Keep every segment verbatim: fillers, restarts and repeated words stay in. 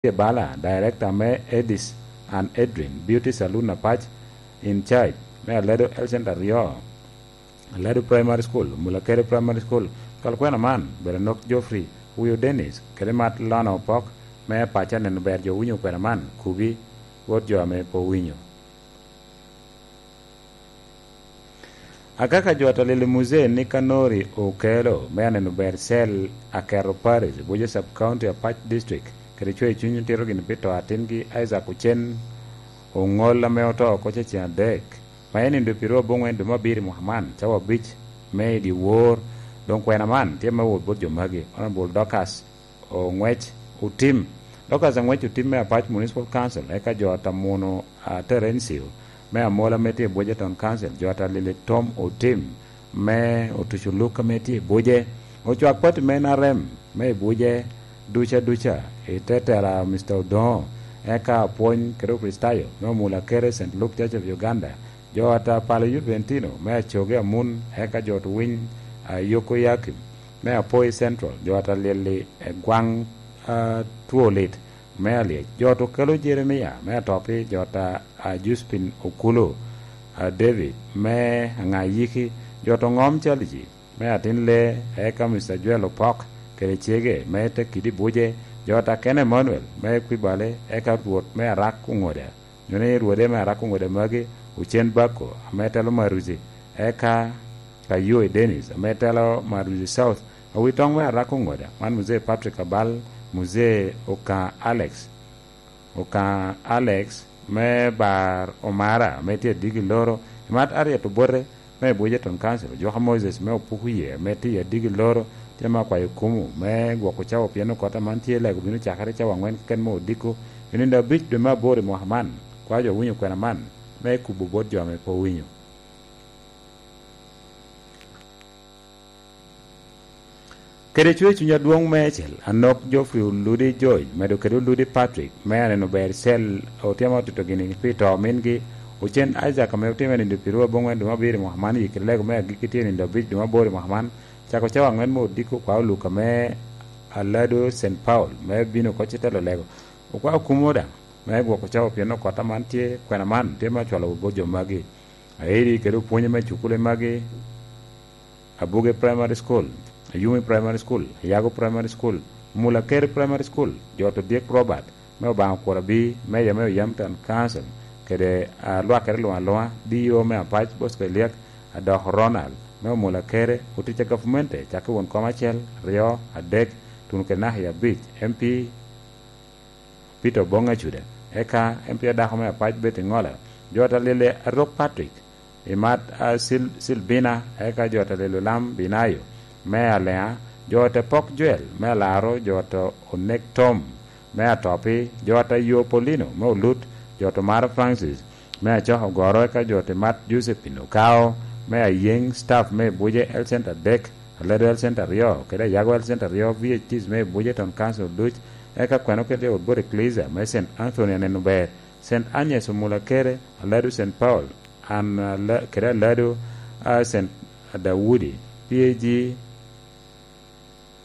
Tye bala, director me Edis and Edrin Beauty Saloon Apac, in charge me Aledo Health Center aryo, Aledo Primary School, Mulakere Primary School. Cwal kwena man, Berenok Geoffrey, Owio Dennis, kede Mat Lona Opok, me Apac aneno ber jo winyo kwena man, kubi, wot jo ame pe owinyo. Akaka jo atalil i muzee ni Kanori Okelo me aneno ber cel Akero Parish, Buja Sub County, Apac District, kede cweyo cuny otito gini pi to atingi Isaac Ocen Oŋol ame oto oko ceŋ adek, ma en nindo pi ruu aboŋwen dwe me abiro i mwaka man, cawa abic me i dyewor, doŋ kwena man tye me wot bot jo magi, Honorable Dorcas Oŋwec Otim. Dorcas Oŋwec Otim me Apac Municipal Council, eka jo a Tamuno, a, Terencio, me Amola ame tye i Buje Town Council, jo a Talili Tom Otim me Otuco Luk ame tye i Buje, ocwak pati me N R M me i Buje duca duca, i te tela Mister Odoŋo, eka apwony kede Okricitayo me Omula Kere Saint Luke Church of Uganda, jo a Tapalo Youth Ventino me Acoge Amun, eka jo Tuwiny, a, Yoko Yakim me Apoi Central, jo a Talili, e, Gwaŋ, a, Two Lit me Alyec, jo to kelo Jeremia me Atopi, jo ta, a, Juspin Okulu, a, David me Aŋayiki, jo to Ŋom Caliji me Atin Lee, eka Mister Joel Opok kede cege me Tekidi Buje, jo ta Ken Emmanuel me Kwibale, eka Rwot me Arak Oŋoda, nyo ni Rwode me Arak Oŋoda magi, Ocen Bako ame telo Maruzi, eka Kayoe Dennis ame telo Maruzi South, Awitoŋ me Arak Oŋoda, man Muzee Patrick Abal, Muzee Okaŋ Alex, Okaŋ Alex me Bar Omara ame tye Adigi Loro, Imat Harriet Obote me Buje Town Council, Ojwaka Moses me Opuku Ye ame tye i Adigi Loro, tye me akwayo kumu me gwoko cawa pien okot aman tye lego bino cakere cawa aŋwen keken me odiko, i nino abic dwe me aboro i mwaka man. Kwayo jo winyo kwena man me kubo bot jo ame pe owinyo. Kede cwer cuny adwoŋ meicel, Anok Geoffrey Oludi George, medo kede Oludi Patrick, me aneno ber cel, otyema otito gini pi to mingi, Ocen Isaac ame otime nindo pi ruu aboŋwen dwe me abiro i mwaka man, yikki lego me agikki tye nindo abic dwe me aboro i mwaka man, cako cawa aŋwen me odiko kwa oluka me Alado Saint Paul, me bino oko ci telo lego. Okwao kumo daŋ, me gwoko cawa pien okot aman tye, kwena man tye me acwalo bot jo magi. Airi kede opwonye me cukule magi, Abuge Primary School, Ayumi Primary School, Ayago Primary School, Mula Keri Primary School, jo to Dick Robert, me Obaŋa Okura Bi, Meja me Oyam Town Council, kede, a, lwakere luŋ aluŋa, D O me Apac, Bosco Eliak, Adok Ronald, me Omula Kere, otic a gavumenti, cakki won kom acel, aryo, adek, tuno kede naka i abic, M P, Peter Oboŋ Acuda, eka M P adako me Apac Betty Ŋola, jo ta lele Arok Patrick, Imat, a, Sil-, Silbina, eka jo ta lele Lam Binayo, me Aleŋa, jo ta Pok Joel, me Alaro, jo ta Onek Tom, me Atopi, jo ta Yo Polino, me Olut, jo ta Maro Francis, me Acok Ogoro, eka jo ta Imat Josephine Okao, me Ayeŋ, staff me Buje Health Center adek, Aledo Health Center aryo, kede Ayago Health Center aryo, V H Ts me Buje Town Council duc, eka kweno kede Old Body Ecclesia me Saint Anthony aneno ber, Saint Agnes Omula Kere, Alado Saint Paul, an, ala-, kede Alado, a, Saint Daudi, P A G,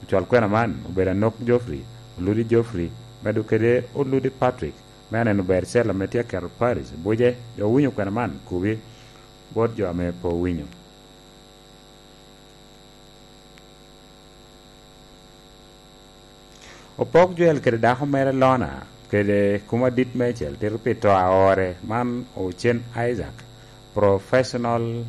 ocwal kwena man, obedo Anok Geoffrey, Oludi Geoffrey, medo kede Oludi Patrick, me aneno ber cel ame tye aketo Paris, Buje, jo winyo kwena man, kubi, bot jo ame pe owinyo. Opok Joel kede dako mere Lona, kede kuma dit meicel tito pi to aore man Ocen Isaac, professional,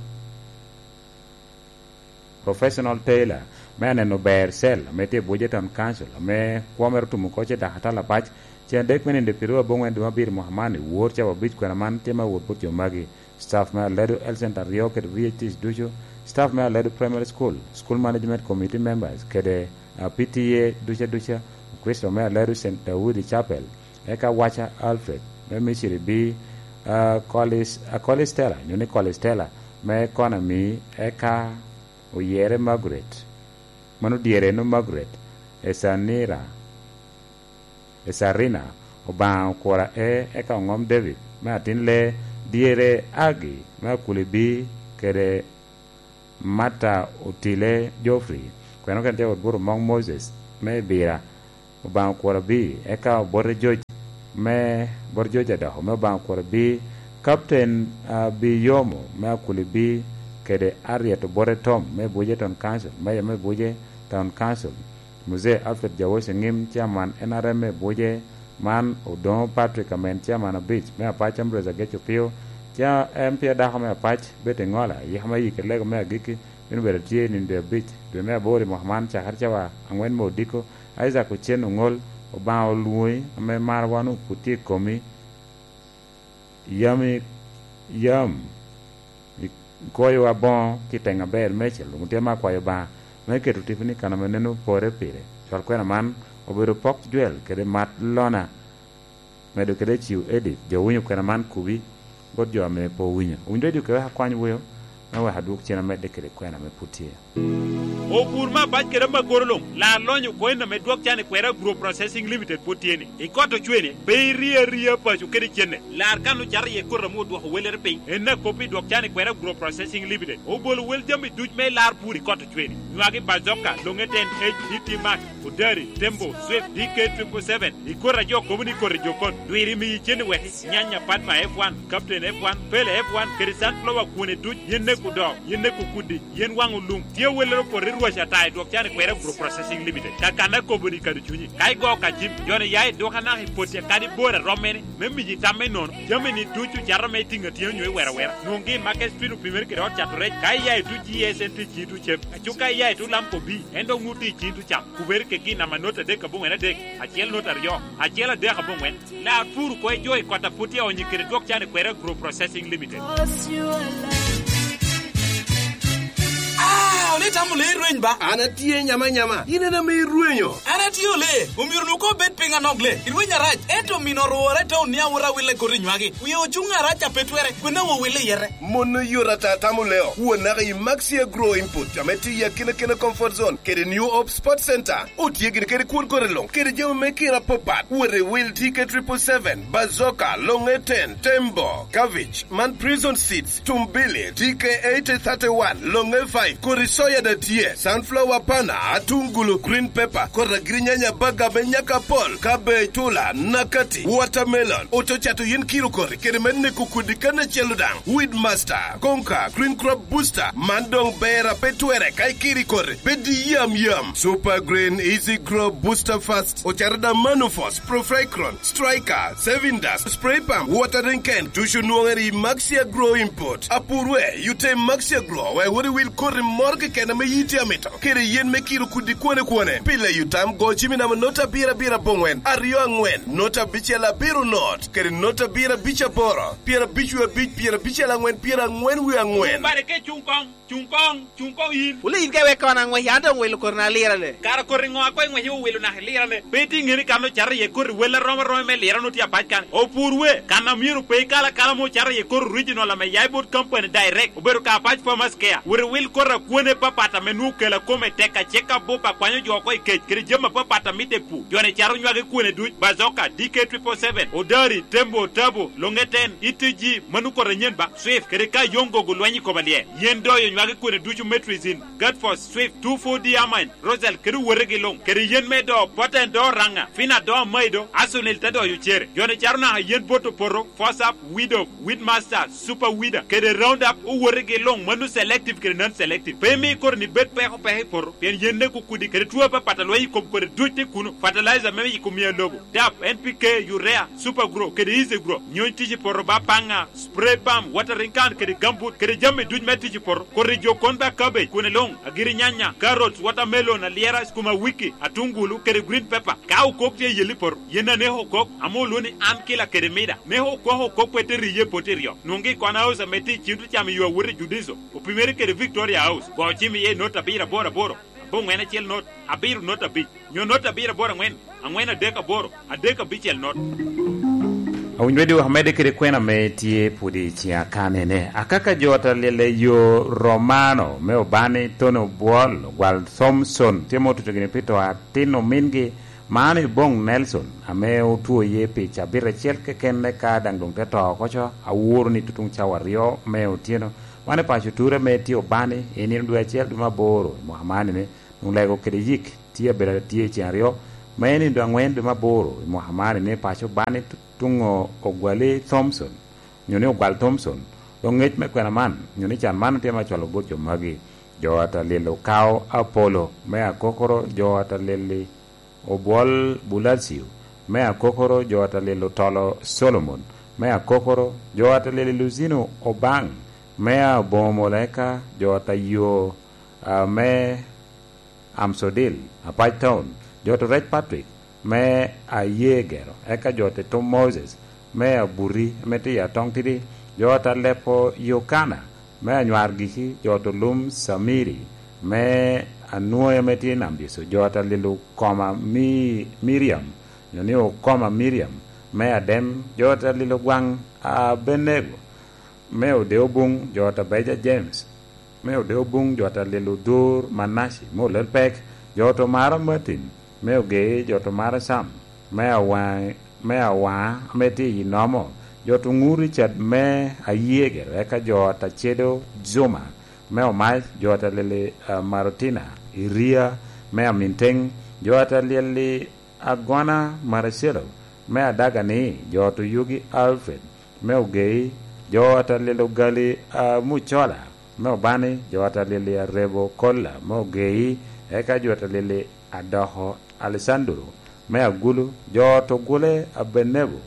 professional tailor, me aneno ber cel ame tye i Buje Town Council, ame kwo mere otumo oko ce dako atalapac, cen adek me nindo pi ruu aboŋwen dwe me abiro mwaka man i wor cawa abic kwena man tye me wot bot jo magi. Staff me Aledo Health Center aryo kede V H Ts ducu, staff me Aledo Primary School, School Management Committee members, kede, a, P T A duca duca, Okristo me Aledo Saint Daudi Chapel, eka Wacha Alfred me Misiri B, a, Kolis-, a, Kolistela, nyo ni Kolistela me Konami, eka Oyere Margaret, mano dyere no Margaret, Esanira, Esarina, Obaŋa Okura E, eka Oŋom David, me Atin Lee, dyere Agi, me Akuli B, kede Mata Otile Geoffrey, kweno kene tye wot buto Mong Moses, me Ibira, Obaŋa Okwor Abii, eka Obote Joc me, Obote Joc Adoko me Obaŋa Okwor Abii, Captain Abii Yomo me Akuli Bii, kede Ariet Obote Tom me Buje Town Council, Mayor me Buje Town Council, Muzee Alfred Jawoc Eŋim, Chairman N R M me Buje, man Odoŋo Patrick Amen, Chairman abic me Apac, Ambrose Agec Opio, ca M P adako me Apac, Betty Ŋola, yiko me yik i lego me agikki, bino bedo tye i nino dwe abic, dwe me aboro i mwaka man, cakere cawa aŋwen me odiko, Isaac Ocen Oŋol, Obaŋa olwoŋi, ame marwa onwoŋo pwod tye i komi, yam i, yam ikwoyowa boŋo kiteŋ aber meicel, onwoŋo tye ame akwayo Obaŋa me keto tiponi i kan ame neno pore pire. Cwal kwena man obedo pok jwel kede mat lona, medo kede ciwo Edith, jo winyo kwena man kubi, bot jo ame pe owinyo. Owinyo Radio kede wek akwany weo, me wek adwok cen amedde kede kwena ame pwod tye. Opur me abac kede amagoro luŋ, lar lonyo coin ame dwok can i kwera Agro Processing Limited pwod tye ni. I kot ocwene, pe irie aria paco kede cenne. Lar kan ocato iye koti ame odwoko wellere piny. En akop i dwok can i kwera Agro Processing Limited. Obolo wel jami duc me lar pur i kot ocwene. Nywagi bazoka, loŋe ten H, D T Max, Odari, Tembo, Swift, D K triple seven, i koti a jo kobo ni koti jokon, dwiri miyi cen i weki, nyanya, Padma F one, Captain F one, Pele F one, kede Sunflower kwone duc, yen neko doo, yen neko kudi, yen waŋo lum. Tye awellere opoto i rwac ata i dwok can i kwera Agro Processing Limited. Kakanna kobo ni kado cunyi. Ka igo ka jim, jo-ni ya i dwok anaka i poti akadi bor a rom mene, me miyi tam me nono. Jami-ni ducu cato me tiŋ atyeno nyo i wera wera. Nwoŋgi i Market Street opimere kede ot cato rec. Ka iya i duc G S N tye i ciŋi ducu cem. Aco ka iya i tulam kobi, en dok nwoŋo tye i ciŋi ducu cam. Kubere kegi i namba not adek aboŋwen adek, acel not aryo, acel adek aboŋwen. Lar pur oko i jo i kot a pwod tye aonyo kede dwok can i kwera Agro Processing Limited. Ah, ole itamo lee rweny ba? An atye nyama nyama. In en ame irwenyo. An atye ole. Omyero nu ko bed piny anok le. Irweny arac. Ento mino orwora i taun ni awot awille koti nywagi. Wie ocuŋ arac a pe twere. Kwena wo wille yete. Mon oyot ata tamo leo. Won naka i Maxi Agro Input, ame tye i akina kina Comfort Zone, kede New Hope Sports Center. Otye gire kede kwon kore luŋ, kede jami me kira apapat. Wot i wil T K triple seven, Bazooka, Long ten, Tembo, Cabbage, man Prison Seeds, Tumbili, T K eighty thirty-one, Long five, kodi soya da tye, sunflower pana, atungulu, green pepper, kodi agirinyanya baga me nyaka pol, cabbage, tula, nakati, watermelon, oto cato yen kiro kori, kede me neko kodi kan acel daŋ, Weed Master, Konka, Green Crop Booster, man doŋ ber a pe twere ka ikiri kori, bed i yam yam. Super Green Easy Grow Booster Fast, ocato da Manufos, Profricron, Striker, Saving Dust, Spray Pump, Watering Can, ducu nwoŋere i Maxi Agro Import. Apurwe, yute Maxi Agro, wek wot iwil koti moro keken ame yiti amito, kede yen me kiro kudi kwone kwone. Pi leyo tam, go cim i namba not abiro abiro aboŋwen, aryo aŋwen, not abicel abiro not, kede not abiro abic aboro, pyerabic wie abic, pyerabicel aŋwen, pyeraŋwen wie aŋwen. Bare ke cuŋ koŋ. Cuŋ koŋ, cuŋ koŋ yin. Wule yin ka iweko an aŋwec, an doŋ wilo koti na lirane. Kara koti ŋo a koŋ iŋwec iwilo naka ilirane? Pe itye ŋeni kan ocato iye koti wel arom aroma me lirane otye apac kan. Opur we, kan a myero pe ikal akala ame ocato iye koti original ame ya i bot company direct, obedo ka Apac Farmers Care. Wot iwil koti a kwone papat ame nwoŋo kela kome tek acek abup a kwanyo jo oko i kec, kede jami apapat a mitte i pur. Jo-ni cato nywagi kwone duc, Bazooka, D K triple seven, Odari, Tembo, Tabo, Long ten, E T G, mano koti anyen ba. Swift, kede ka yoŋ gogo lweny i kom alyel. Yen doyo nywagi kwene ducu me Trizin, Gatfos, Swift, two four D Amine, Rosal, kede owotegi luŋ, kede yen me do, Poten do Raŋa, Fina do Amaido, Asunil te doyo cere. Jo-ni cato naka yen bot opoto, Fosap, Widow, Weedmaster, Super Weeder, kede Roundup, owotegi luŋ, mano selective kede non-selective. Pe imi koti-ni bed peko peko i poto, pien yen neko kudi, kede two apapat a lweny i kom kodi duc tye kuno, fertilizer me yiko miya lobo, dap, N P K, urea, Super Grow, kede Easy Grow, nyony tic i poto ba paŋa, spray pump, watering can, kede gambut, kede jami duc me tic i poto, kodi jo kon ba cabbage, kwene luŋ, agiri nyanya, carrots, watermelon, alyera, sukuma wiki, atungulu, kede green pepper. Ka okok tye i yel i poto, yen aneko okok, ame olwoŋo ni an kila kede mida. Neko okok okok pe te riye i poto iryo. Nwoŋgi i Kona House ame tye i Chintu Cam i yo awot i Judiso, opimere kede Victoria House. Go cim iye i not abiro aboro aboro, aboŋwen acel not, abiro not abic, nyo not abiro aboro aŋwen, aŋwen adek aboro, adek abicel not. Awinyo Radio wek amedde kede kwena ame tye pwod i ciŋa kanene. Akaka jo ot alyel i yo Romano me Obani, Tony Obwol, Ogwal Thomson, tye ma otuco gini pi to atin omingi, man i boŋ Nelson, ame otwo iye pi cabit acel keken, eka daŋ doŋ te to oko co, aworo ni tutuŋ cawa aryo me otyeno. Wan i paco Ture ame tye Obani, i nino dwe acel dwe me aboro, i mwaka man ene, Nwoŋo lego kede yik tye abedo atye i cen aryo, Me nindo aŋwen dwe me aboro i mwaka man, ni paco bani tuŋo ogwali Thompson, nyo ni ogwal Thompson. Dok ngec me kwena man, nyo ni can man tye ma cwalo bot jo magi: jo atalil Okao Apolo, me akokoro jo atalil-li Obwol Bulacio, me akokoro jo atalil Otolo Solomon, me akokoro jo atalil Luzino Obaŋ, me aboŋo Moleka jo atayo, a, me Amsodil, Apac Town, jo to Rec Patrick, me aye gero, eka jo te Tom Moses, me abuti, ame tye i Atong Tidi, jo ta Lepo Yokana, me anywar giki, jo to Lum Samiri, me anwoya ame tye i Nam Diso, jo ta lilo koma mi, Miriam, nyo ni okoma Miriam, me adem, jo ta lilo gwaŋ Abenego, me ode obuŋ, jo ta Beja James, me ode obuŋ, jo ta lilo dur Manaci, me olel pek, jo to Mara Martin, me ogei, jo to Mara Sam, me awaŋ, me awaŋa, ame tye i nomo, jo to ŋur Richard, me ayegero, eka jo ta cedo Zuma, me omac, jo ta lili, ah, Marotina, Iria, me aminteŋ, jo ta lili Agona Maracelo, me adaga ni, jo to yugi Alfred, me ogei, jo ta lilo gali, ah, Mucola, me obani, jo ta lili Arebo Kolla, me ogei, eka jo ta lili Adoko Alessandro, me agulu, jo to gule Abenego,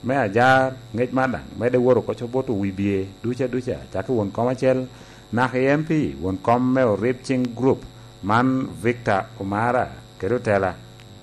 me ajar, ngec man daŋ medde wot oko cobot owibie duca duca, cakki won kom acel, naka i M P, won kom me Orib Cing Group, man Victor Omara, kede otela,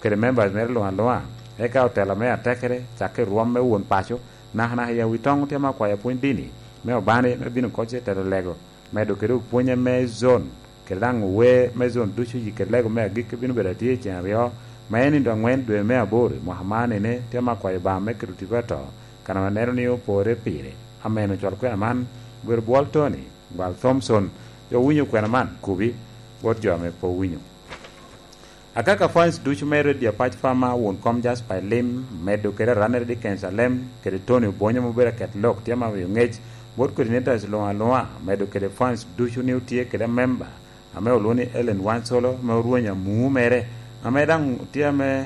kede members mere luŋ aluŋa, eka otela me atekere, cakki rwom me won paco, naka naka i awi toŋ tye ma akwayo pwony dini, me obani, me bino koc i telo lego, medo kede opwonye me zon, kede daŋ wer me zon ducu i kede lego me agikki bino bedo atye i cen aryo, ma en i dwe aŋwen dwe me aboro i mwaka man, ene tye ma akwayo Obaŋa me keto tipo ato, kan ame neno ni opore pire. Amen. Ocwal kwena man, obedo bwol Tony, gwal Thompson, jo winyo kwena man, kubi, bot jo ame pe owinyo. Akaka fans ducu me Radio Apac Farmer, won kom Jasper Elim, medo kede Ranere Dickens Alem, kede Tony Obonyo ma obedo aket lok, tye ma miyo ngec bot coordinators luŋ aluŋa, medo kede fans ducu ni otye kede member, ame olwoŋo ni Ellen Wansolo, ame orwenyo amu mere, ame daŋ tye ame,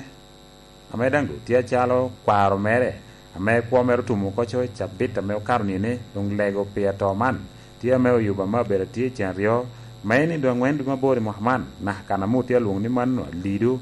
ame daŋ doŋ tye acalo kwaro mere, ame kwo mere otumo oko co i cabit ame okato nini, doŋ lego pi ato man. Tye ame oyuba me abedo atye i cen aryo, ma en i dwe aŋwen dwe me aboro i mwaka man, naka kan ame otye alwoŋo ni mano alido,